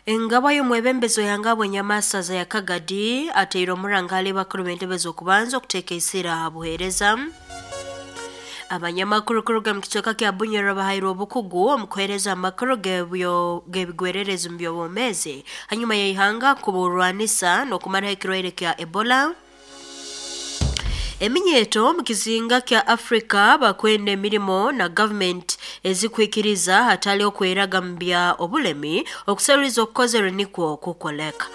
Engabo y'omwebembezi w'ihanga Bwenyamasaza ya Kagadi ateire omuranga hali bakuru b'entebe z'okubanza okuteeka isira aha buheereza. Abanyamakuru kuruga mu kicweka kya Bunyoro bahairwe obukugu omu kuheereza amakuru g'ebigwererezi mu by'obwomeezi hanyuma y'ihanga kuburwanisa n'okumaraho ekirwaire kya Ebola. Eminyeto omu kizinga kya Afrika bakwenda emirimo na gavumenti ezikuhikiriza hatali okweraga mu bya obulemi okuseruliza okukozerwe nikwo kukoleka.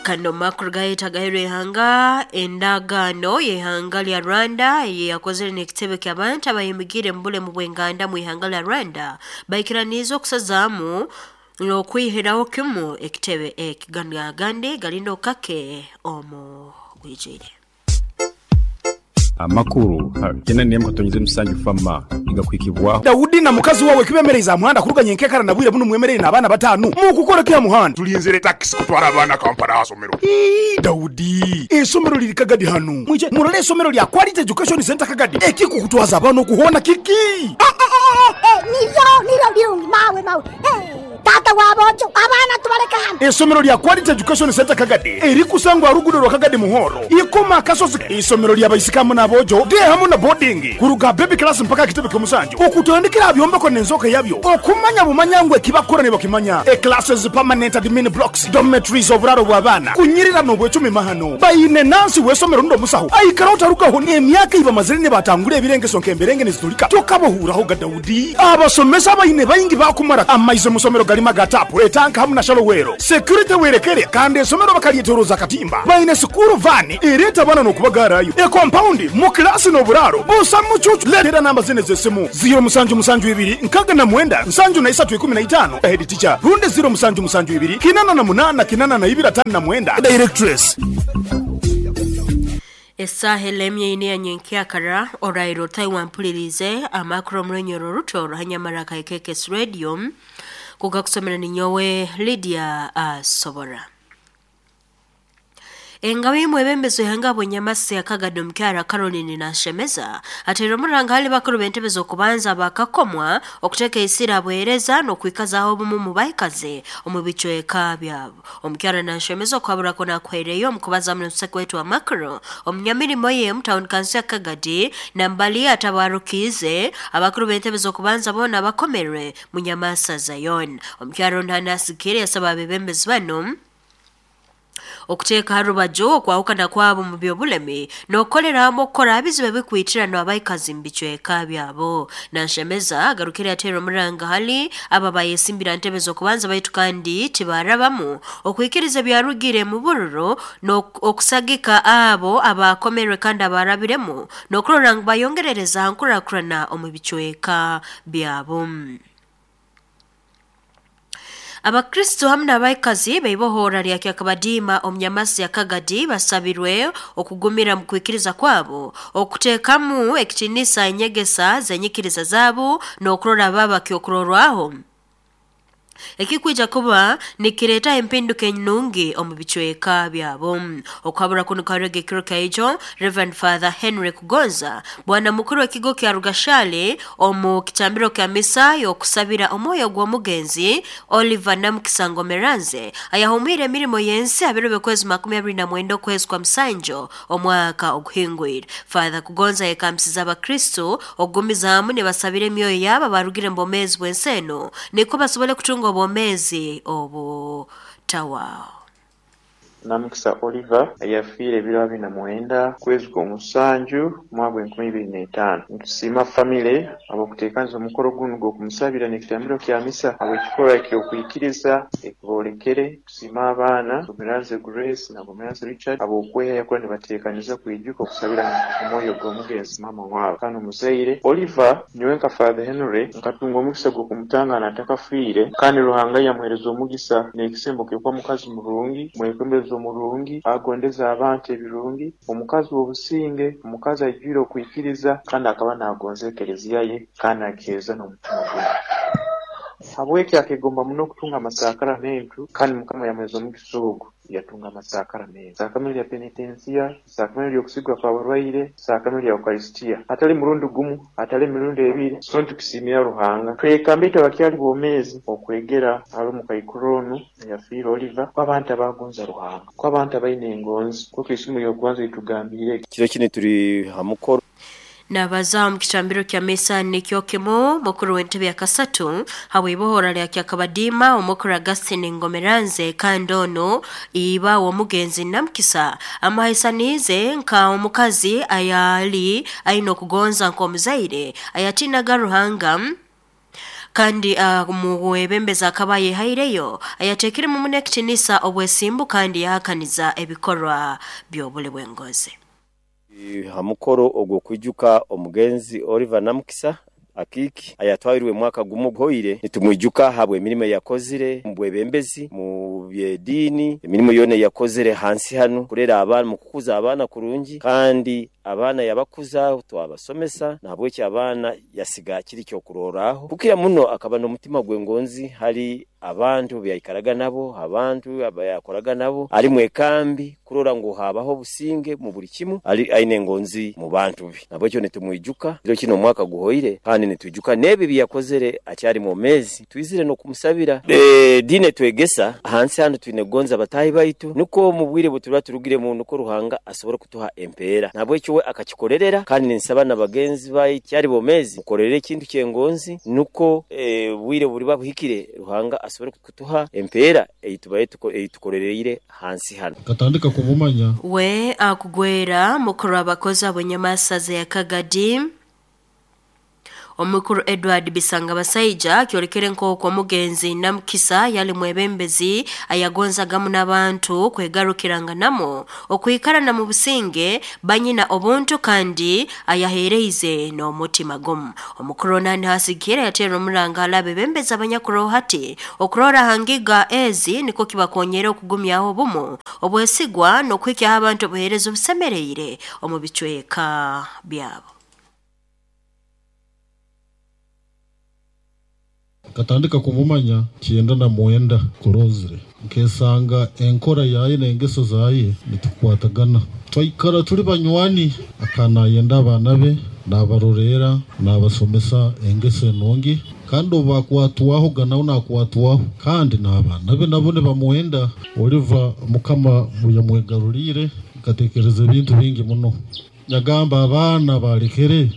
Kano makuru gahita gaheerwa ihanga endagaano y'ihanga lya Rwanda eyeyakozere n'ekitebe ky'abantu abayimigire mu bulemu bw'enganda mu ihanga lya Rwanda baikiraniize okusazaamu n'okwihiraho kimu ekitebe eki. Ganu agandi gali kake omu bwijwire. Amakuru 8.7 fama igakwikibwaho. Daudi na mukazi wawe kibemereza muhanda kuruganya enkekara na bwire buno mwemerere n'abaana batanu mukukora kya muhanda. Tulinzire taxi kutwara abaana Kampala asomero. Daudi, esomero liri Kagadi hanu. Mwije murole esomero lya Quality Education Center Kagadi. Ekikukutwaza abaana okuhona kiki? Niryo niryo birungi mawe mawe. Tata wabojo abaana tubaleka hano. Esomero lya Quality Education Center Kagadi erikusangwa rugudo rwa Kagadi Muhoro. Ikoma akasozi isomero lya baisikamu n'abojo de hamu na boarding kuruga baby class mpaka kitebe ky'omusanju. Okutandikira byombeko n'enzoka yabyo. Okumanya bumanya ngwe kibakora ne bakimanya. E classes permanent admin blocks, dormitories oburaro bw'abaana. Kunyirira n'obwecumi mahano. Bayine nansi w'esomero ndo musaho. Aikara otarugaho emyaka iba mazire ne batangura ebirengeso nk'emberenge nizitulika. Tokabohuraho ga Daudi. Abasomesa bayine bayingi bakumara amaize musomero galima gatapu etanka hamu na shalowero. Security werekere kandi esomero bakalyetoroza katimba. Bayine sukuru vani ereta bana n'okubagarayo. E compound mu klasi n'oburaro. Busa mucucu letera namba zine z'essimu 0 musanju musanju ibiri nkaga na mwenda nsanju na isatu ikumi na itano head teacher runde 0 musanju musanju ibiri kinana na munana kinana na ibiri atano na mwenda directress. Esaha elemye ine ya nyenkyakara orairo Taiwan mpulirize amakuru omurenyoro ruto ruhanyamara kaikekes radio kugakusomera ninyowe Lydia Asobora. Engabo y'omwebembezi w'ihanga Bwenyamasi ya Kagadi omukyara Caroline Nashemeza ateire omuranga hali bakuru b'entebe z'okubanza bakakomwa okuteeka isira buheereza n'okwikazaho obumu mu baikaze omu bicweka byabo. Omukyara Nashemeza okuhaburako nakuhaireyo omu kubaza munisika wetu wa makuru omunyamirimo ye mu town council ya Kagadi nambali atabarukiize abakuru b'entebe z'okubanza boona bakomerwe Munyamasa Zion. Omukyara ono anasikire yasaba abebembezi bano okuteeka ha rubaju okwahukana kwabo mu byobulemi n'okukolera hamu okukora abizibu ebikwitirano abaikazi mu bicweka byabo. Nanshemeza agarukire ateera omuranga hali aba bayesimbira ntebe z'okubanza baitu kandi tibarabamu okwikiriza ebyarugire mu bururo n'okusagika abo abakomerwe kandi abarabiremu n'okurora ngu bayongerereza ha nkurakurana omu bicweka byabo. Abakristo hamu n'abaikazi baibohora lya Kyakabadiima omunyamasi ya Kagadi basabirwe okugumira mu kwikiriza kwabo okuteekamu ekitiinisa enyegesa z'enyikiriza zaabo n'okurora baba kyokurorwaho ekikwija kuba nikireeta empinduka enungi omu bicweka byabo. Okuhabura kuno karega ekiro kyaijo Reverend Father Henry Kugonza bwana mukuru w'ekigo kya Rugashale omu kitambiro kya misa y'okusabira omwoyo gw'omugenzi Oliver Namukisa Ngomeranze ayahumwire emirimo y'ensi abiro by'okwezi 29 okwezi kwa Musanjo omwaka oguhingwire. Father Kugonza yekambisiza abakristo okugumizaamu nibasabira emyoyo yabo abarugire mu bwomeezi bw'ensi eno nikwo basobole kutunga obwomeezi obutawaho. Namukisa Oliver yafiire ebiro 29 kwezi kw'omusanju mwaka gw'enkumi ibiri n'etaano. Nitusiima famire ab'okuteekaniza omukoro gunu gw'okumusabira n'ekitambiro kya misa habw'ekikorwa eky'okwikiriza ekiboolekere. Tusiima abaana Gomeranze Grace na Gomeranze Richard ab'okwehayo kuba nibateekaniza kwijuka okusabira omwoyo gw'omugenzi maama waabo. Kandi omuzaire Oliver nyowe nka Father Henry nkatunga omugisa gw'okumutangana atakafiire kandi Ruhanga yamuheereza omugisa n'ekisembo ky'okuba mukazi murungi, mwekwembezi omurungi, agondeza abantu ebirungi, omukazi w'obusinge, omukazi aijwire okwikiriza kandi akaba naagonza ekereziya ye kandi agiheereza n'omutima gwe. Habweki akegomba muno okutunga amasakaramento kandi Mukama yamuheza omugisa ogu yatunga amasakaramento. Sakaramento lya penitensiya, sakaramento ly'okusigwa kw'abarwaire, sakaramento lya Ukarisitiya. Hatali murundi gumu, hatali emirundi ebiri, so nitukisimira Ruhanga. Twekamba itwe abakyali bomeezi okwegera hali omukaikuru onu ayafiire Oliver, ko abantu abagonza Ruhanga, ko abantu abaine engonzi, nk'oku isomo ly'okubanza litugambiire. Kiro kinu turi ha mukoro. Nabaza omu kitambiro kya misa nikyo kimu mukuru w'entebe ya kasatu habw'ibohora lya Kyakabadiima omukuru Augustine Ngomeranze kandi onu iba w'omugenzi Namukisa amuhaisaniize nka omukazi ayali aine okugonza nk'omuzaire ayatiinaga Ruhanga kandi muwebembezi akaba ayehaireyo ayateekiremu muno ekitiinisa obwesimbu kandi yahakaniza ebikorwa by'obuli bw'engozi. Ha mukoro ogw'okwijuka omugenzi Oliver Namukisa Akiiki ayatwairwe mwaka gumu oguhoire, nitumwijuka ahabw'emirimo ei yakozire omu bwebembezi, mu by'ediini, emirimo yoona ei yakozire hansi hanu kurera abaana, mu kukuza abaana kurungi kandi abaana yabakuza twabasomesa nahabweki abaana yasiga kiri ky'okurorraho. Kukira muno akaba n'omutima gw'engonzi hali abantu abu yaikaraga nabo, abantu abu yakoraga nabo, ali mwekambi kurora ngu habaho obusinge mu buli kimu, ali aine engonzi mu bantu be. Nahabwekyo nitumwijuka kiro kinu omwaka guhoire kandi nitwijuka n'ebi ebi yakozere akyali mwomeezi. Twizire n'okumusabira. Ediini etwegesa hansi hanu twine kugonza bataahi baitu nukwo omu bwire obu turiba turugiremu nukwo Ruhanga asobole kutuha empeera. Nahabwekyo we akakikolerera kandi ninsaba na bagenzi baitu akyali bomeezi mukolerere ekintu ky'engonzi nukwo obwire obu buriba buhikire Ruhanga asobole kutuha empeera ei tubaire ei tukolereire hansi hanu. Nkatandika kumumanya. We akugwera mukuru w'abakozi ab'enyamasaza ya Kagadi, Omukuru Edward Bisangabasaija akyolekere nk'oku omugenzi Namukisa yali mwebembezi ayagonzaga muno abantu kwegarukiranganamu, okwikara na mubusinge, banyina obuntu kandi ayaheereize n'omutima gumu. Omukuru onu niho yateera omuranga hali abebembezi abanyakuroho hati okurora ha ngiga ezi nikwo kibakonyera okugumyaho obumu, obwesigwa n'okuhikyaho abantu obuheereza obusemeriire omu bicweka byabo. Nkatandika kumumanya 99 kurozire nkesanga enkora yaye n'engeso zaye nitukwatagana. Twaikara tuli banywani, akaba nayenda abaana be, nabaroleera, nabasomesa engeso enungi kandi obu bakwatwahoga nawe nakwatwaho kandi n'abaana be nabo nibamwenda. Oliver Mukama obu yamwegaruliire nkatekereza ebintu bingi muno. Yagamba abaana balekere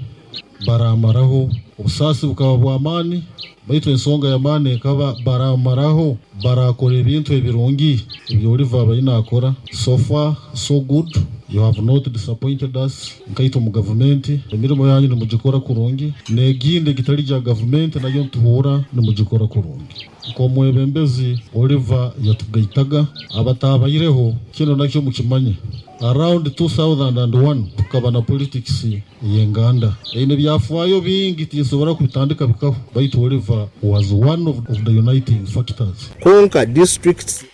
baramaraho. Obusaasi bukaba bw'amaani baitu ensonga y'amaani ekaba baramaraho barakora ebintu ebirungi ebi Oliver abaire naakora. So far so good, you have not disappointed us nkaitwe omu gavumenti. Emirimo yanyu nimugikora kurungi n'egindi egitali gya gavumenti nayo nituhuura nimugikora kurungi. Nk'omwebembezi Oliver yatugaitaga, abataabaireho kinu nakyo mukimanye. Around 2001 tukaba na politics ey'enganda eine ebyafaayo bingi tinsobora kubitandika bikaho baitu Oliver was one of the uniting factors. Kwonka districts.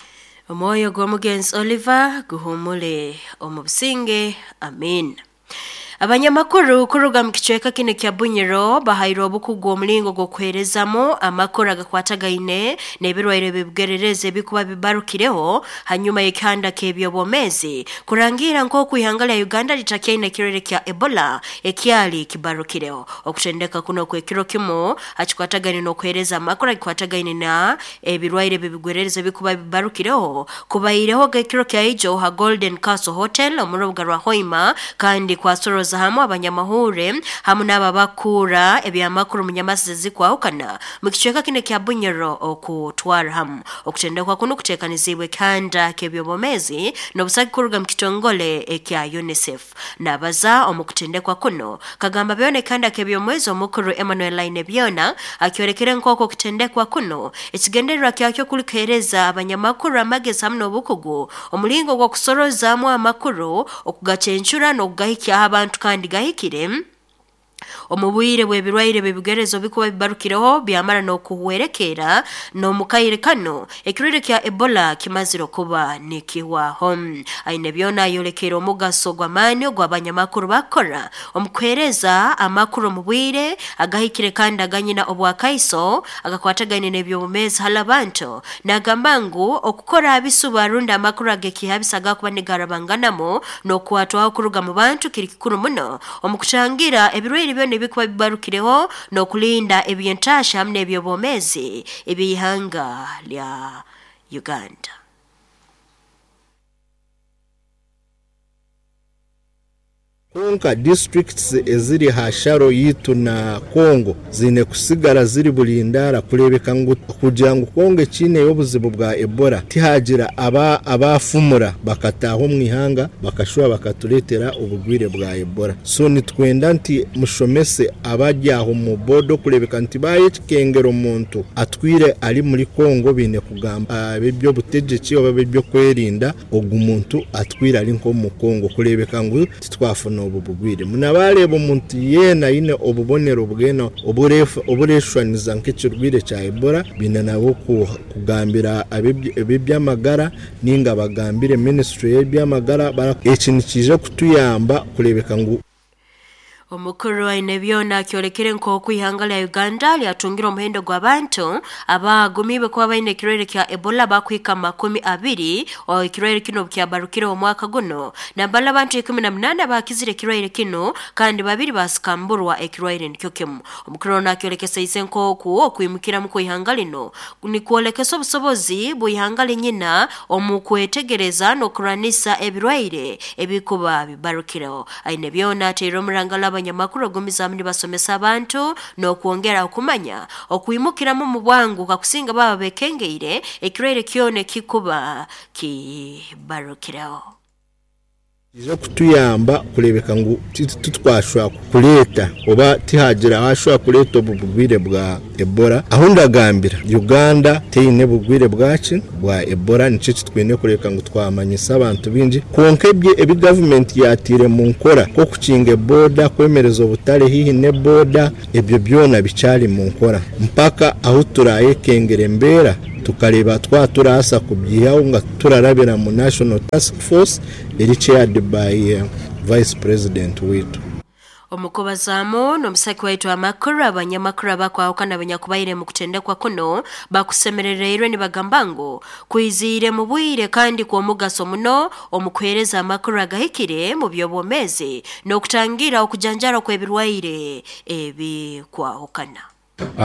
Omwoyo gw'omugenzi Oliver guhumure omu businge. Amiina. Abanyamakuru kuruga mu kicweka kinu kya Bunyoro bahairwe obukugu omulingo gw'okuheerezamu amakuru agakwatagaine n'ebirwaire by'ebigererezi ebikuba bibarukireho hanyuma y'ekihanda ky'eby'obwomeezi kurangira nk'oku ihanga lya Uganda litakyaine ekirwaire kya Ebola ekyali kibarukireho. Okutendeka kuno okw'ekiro kimu hakikwatagaine n'okuheereza amakuru agikwatagaine na ebirwaire by'ebigwererezi ebikuba bibarukireho kubaireho ekiro kya ijo ha Golden Castle Hotel omu rubuga rwa Hoima kandi kwasoroza hamu abanyamahure hamu n'abo abakuura ebyamakuru mu nyamasi ezikwahukana mu kicweka kinu ekya Bunyoro okutwara hamu. Okutendekwa kunu kuteekaniziibwe ekihanda ky'eby'obwomeezi n'obusagiki kuruga mu kitongole ekya UNICEF. Nabaza omu kutendekwa kuno kagamba byona ekihanda ky'ebyomwezi omukuru Emmanuel Ainebyona akyolekere nk'oku okutendekwa kuno ekigendererwa kyakyo kuli kuheereza abanyamakuru amagezi hamu n'obukugu omulingo gw'okusorozaamu amakuru okugacencura n'okugahikyaho abantu kandi gahikire. Omu bwire bw'ebirwaire b'ebigerezo bikuba bibarukireho byamara n'okuhwerekeera n'omukaire kano ekirwaire kya Ebola kimazire okuba nikihwaho. Aine byona ayolekere omugaso gw'amaani ogw'abanyamakuru bakora omu kuheereza amakuru omu bwire agahikire kandi aganyina obwakaiso agakwatagaine n'eby'obumeezi hali abantu. Nagamba ngu okukora abisuba rundi amakuru ag'ekihabisa agakuba nigarabanganamu n'okukwatwaho kuruga mu bantu kiri kikuru muno omu kutangira ebirwaire byona ebikuba bibarukireho n'okulinda eby'entaasha hamu n'eby'obwomeezi eby'ihanga lya Uganda. Kwonka disiturikiti eziri aha sharo yaitu na Congo ziine kusigara ziri burindaara kureebeka ngu kugira ngu Congo ekiineyo obuzibu bwa Ebola tihagira abaafumura bakataaha omu ihanga bakashuba bakatureetera oburwaire bwa Ebola. So nitwenda nti mushomese abari aho omu boda okureebeka nti baayekengera omuntu atwire ari muri Congo baine kugamba ab'eby'obutegyeki oba ab'eby'okwerinda Ogu muntu atwire ari nk'omu Congo kureebeka ngu titwafuna obu burwaire. Muna baareeba omuntu yeena aine obubonero bwena obureshwaniza nk'ekirwaire kya Ebola, baine nabo kugambira ab'eby'amagara ninga bagambire minisitule y'eby'amagara. Eki nikiija kutuyamba kureebeka ngu. Omukuru Ainebyona akyolekere nk'oku ihanga lya Uganda lyatungire omuhendo gw'abantu abagumiibwe kuba baine ekirwaire kya Ebola bakuhika 20 ekirwaire kinu obukyabarukireho omwaka guno. Nambala abantu 18 bakizire ekirwaire kinu kandi 2 basikamburwa ekirwaire nikyo kimu. Omukuru onu akyolekeseize nk'oku okwimukiramu kw'ihanga lino nikwolekesa obusobozi bw'ihanga linyina omu kwetegereza n'okurwanisa ebirwaire ebikuba bibarukireho. Ainebyona ateire omurangalo abanyamakuru ogumizaamu nibasomesa abantu n'okwongera okumanya okwimukiramu omu bwangu kakusinga baba bekengeire ekirwaire kyona ekikuba kibarukireho. Nikiija kutuyamba kureebeka ngu titwashwa kureeta oba tihaagira owashwa kureeta obu burwaire bwa Ebola. Ahu ndagambira, Uganda teine burwaire bwaki? Bwa Ebola. Nikyo eki twine kureebeka ngu twamanyisa abantu baingi. Kwonka ebyo ebi gavumenti yaataire omu nkora nk'okukinga eboda, kwemereza obutare haihi n'eboda, ebyo byona bikyari mu nkora mpaka ahu turayekengera embeera tukareeba twaba turabaasa kubyihaho nga turarabira mu National Task Force eri chaired by Vice President waitu. Omukubazaamu n'omusaki waitu amakuru, abanyamakuru abakwahukana abanyakubaire mu kutendekwa kuno bakusemerereirwe nibagamba ngu kwiziire mu bwire kandi kw'omugaso muno omu kuheereza amakuru agahikire mu by'obwomeezi n'okutangira okujanjara kw'ebirwaire ebikwahukana.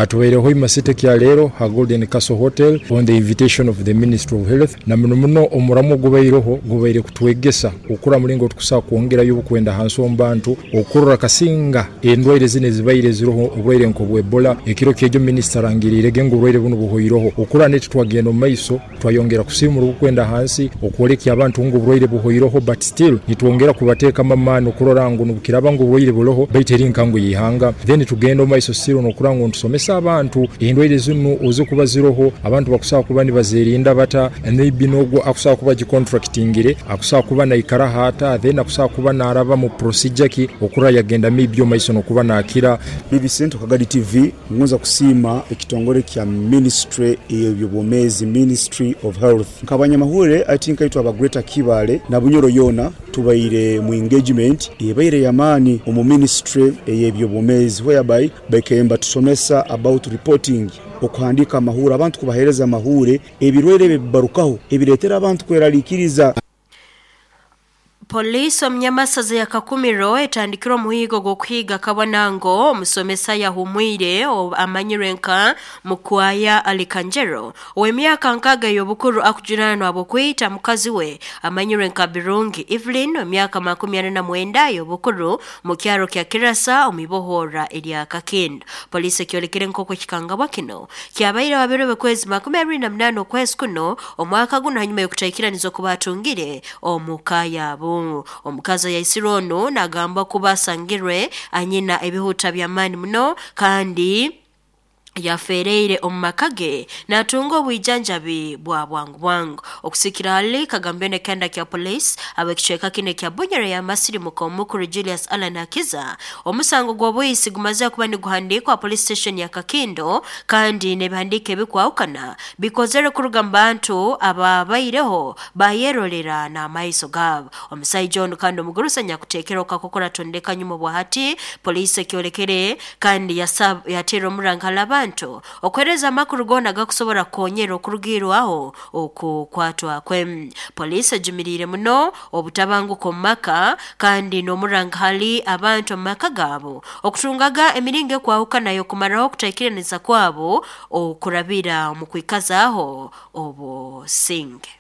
Tubaireho Hoima City kya leero ha Golden Castle Hotel on the invitation of the Ministry of Health na muno muno omuramwa ogubaireho gubaire kutwegesa okurora mulingo tukusobora kwongerayo obukwenda hansi omu bantu okurora kasinga endwaire zinu ezibaire ziroho oburwaire nk'obwa Ebola. Ekiro kyegyo minisita arangiriirege ngu oburwaire bunu buhoireho okurora naitwe twagenda omu maiso Twayongera kusiimura obukwenda hansi okwolekya abantu ngu oburwaire buhoireho but still nitwongera kubateekamu amaani okurora ngu nobukiraaba ngu oburwaire buroho baitu eri nkangu y'ihanga then tugenda omumaiso still nokurora ngu nitusomesa abantu endwaire zinu ozikuba ziroho abantu bakusobora kuba nibazerinda bata maybe nogu akusobora kuba agicontractingire akusobora kuba naikaraho ata then akusobora kuba naraba mu procedure ki okurora yagenda maybe omumaiso nokuba nakira. BBC Kagadi TV Ngonza kusiima ekitongore kya minisitule ey'eby'obwomeezi, Ministry of Health. Nk'abanyamahurire ati nkaitwe aba Greater Kibaale na Bunyoro yoona tubaire mu engagement ebaire y'amaani omu minisitule ey'eby'obwomeezi whereby baikaire nibatusomesa about reporting, okuhandiika amahuure, abantu kubaheereza amahuure, ebirwaire ebi ebibarukaho ebireetera abantu kweraliikiriza. Poliisi omu Nyamasaza ya Kakumiro etandikire omuhiigo gw'okuhiiga Kabonango, omusomesa ayahumwire amanyirwe nka Mukwaya Alikanjero ow'emyaka 60 ey'obukuru akujunaanwa habw'okwita mukazi we amanyirwe nka Birungi Evelyn ow'emyaka 49 ey'obukuru mu kyaro kya Kirasa omu ibohorra erya Kakindu. Poliisi ekyolekere nk'oku ekikangabwa kinu kyabaireho ha biro by'okwezi 28 okwezi kuno omwaka gunu hanyuma y'okutaikiraniza oku baatungire omu ka yaabu. Omukazi ayaisirwe onu nagambwa kuba asangirwe anyina ebihuta by'amaani muno kandi Yafeereire omu maka ge natunga obwijanjabi bwa bwangu bwangu. Okusikira hali kagambyo kenda kya police ab'ekicweka kinu ekya Bunyoro yamasirimuka omukuru Julius Allan Hakiza, omusango gw'obwisi gumaze kuba niguhandiikwa police station ya Kakindo, kandi n'ebihandiiko ebikwahukana bikozere kuruga mu bantu ababaireho bayerolera n'amaiso gaabo. Omusaija onu kandi omugurusi anyakuteekera okakokora tondeka nyuma bwahati poliisi ekyolekere kandi yateera omuranga hali abantu okuheereza amakuru goona gakusobora kukonyera okurugirwaho okukwatwa kwe. Poliisi ejumiriire muno obutabanguko omu maka kandi n'omuranga hali abantu omu maka gaabo okutungaga emiringo ekwahukana y'okumaraho okutaikiraniza kwabo okurabira omu kwikazaaho obusinge.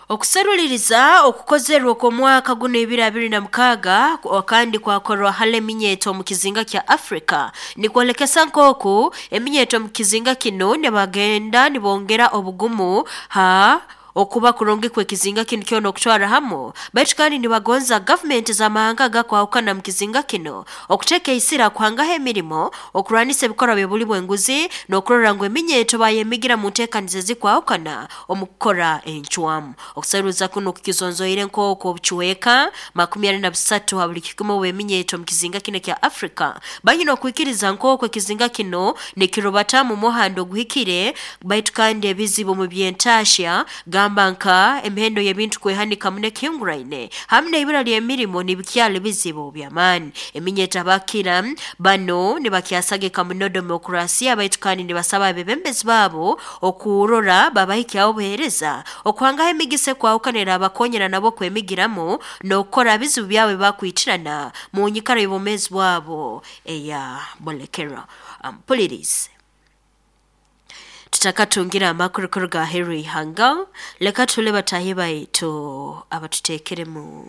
Okuseruliriza okukozerwe okw'omwaka guno 2026 kandi kwakorwa hali eminyeto omu kizinga kya Afrika nikwolekesa nk'oku eminyeto omu kizinga kinu nibagenda nibongera obugumu ha okuba kurungi kw'ekizinga kinu kyona okutwara hamu, baitu kandi nibagonza gavumenti z'amahanga agakwahukana mu kizinga kinu okuteeka isira kuhangaho emirimo, okurwanisa ebikorwa by'obuli bw'enguzi, n'okurora ngu eminyeto bayemigira mu nteekaniza ezikwahukana omu kukora encwamu. Okuseruza kunu kukizonzoire nk'oku obucweka 43 ha buli kikumi obw'eminyeto omu kizinga kinu ekya Afrika banyina okwikiriza nk'oku ekizinga kinu nikirubatamu omuhanda oguhikire, baitu kandi ebizibu omu by'entaahya gamba nka emihendo y'ebintu kwehanika muno ekihinguraine hamu n'ibura ly'emirimo nibikyali bizibu by'amaani. Eminyeto abakira banu nibakyasagika muno demokrasiya, baitu kandi nibasaba abebembezi baabo okurora babahikyaho obuheereza okuhangaho emigisa ekwahukanira abakonyera nabo kwemigiramu n'okukora bizibu byabo ebibakwitirana mu nyikara y'obwomeezi bwabo eya bolekero. Ampulirize. Tutakatungire amakuru kuruga aheeru y'ihanga, leka tule bataahi baitu abatuteekeremu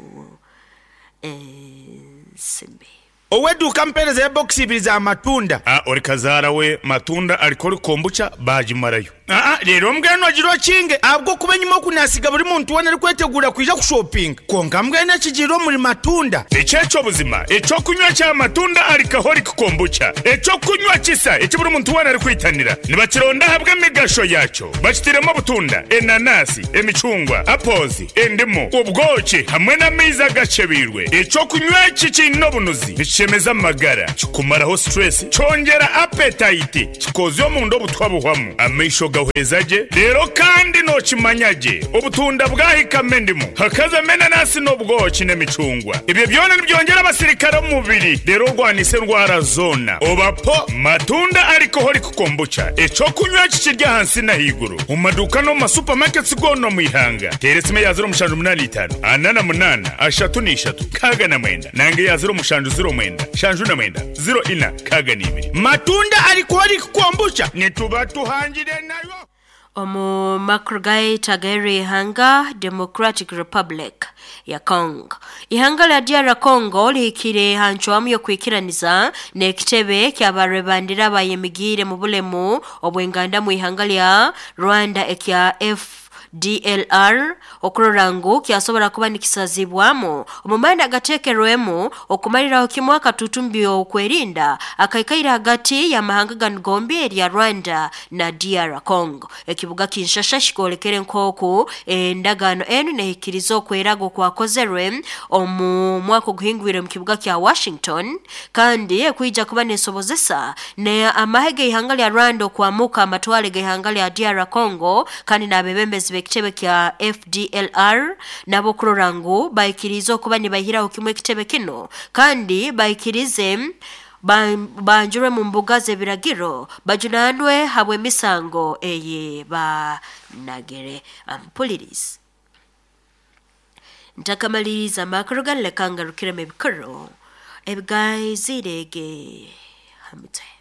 ensimbi. Ow'eduuka ampeereza ya bokisi ibiri za matunda. A Ori kazaara we matunda alcoholic kombucha baagimarayo. Aa Reero mbwenu ogire okinge ahabw'okuba enyima oku naasiga buri muntu weena arikweteguura kwija kushopinga. Kwonka mbwenu ekigiire omuri matunda. Eki eky'obuzima, eky'okunywa kya matunda alcoholic kombucha, eky'okunywa kisa eki buri muntu weena arikwitanira. Nibakironda ahabw'emigasho yaakyo. Bakitairemu obutunda, enanasi, emicungwa, apples, endimu, obwoki hamwe n'amaizi agakyebeirwe. Eky'okunywa eki kiine obunuzi, nikishemeza amagara, kikumaraho stress, kyongyera appetite, kikoozya omunda obutwa buhwamu, amaisho gahweza gye, reero kandi nookimanya gye obutunda bwahikamu endimu, hakazamu enanasi n'obwoki n'emicungwa. Ebyo byona nibyongyera abasirikare omu mubiri reero orwanise endwara zoona. Oba po matunda alcoholic kombucha, eky'okunywa eki kiri ahansi n'ahaiguru omu maduuka n'omu ma supermarkets goona omu ihanga. Teera esimu eya 0785 48 33 69 nanga eya 0709 79 04 62. Matunda alcoholic kombucha nituba tuhangire nayo. Omu makuru gaitu ag'eri ihanga Democratic Republic ya Congo. Ihanga lya DR Congo lihikire ha ncwamu y'okwikiraniza n'ekitebe ky'abarwebandira abayemigiire mu bulemu obw'enganda mu ihanga lya Rwanda ekya FDLR okurora ngu kyasobora kuba nikisazibwamu omu maani agateekerwemu okumaliraho kimu akatutumbi okwerinda akaikaire hagati y'amahanga ganu gombi erya Rwanda na DR Congo. Ekibuga Kinshasa kikwolekere nk'oku endagaano enu nehikiriza okweraga okwakozerwe omu mwaka oguhingwire omu kibuga kya Washington, kandi ekwija kuba nesobozesa ne amahe g'ihanga lya Rwanda okwamuka amatwale g'ihanga lya DR Congo, kandi n'abebembezi b'ekitebe kya FDLR nabo kurora ngu baikirize okuba nibaihiraho kimu ekitebe kinu, kandi baikirize banjurwe mu mbuga z'ebiragiro bajunanwe habw'emisango eyi banagire. Ampulirize. Ntakamaliriza amakuru ganu, leka ngarukiremu ebikuru ebigaizire ge ha mutwe.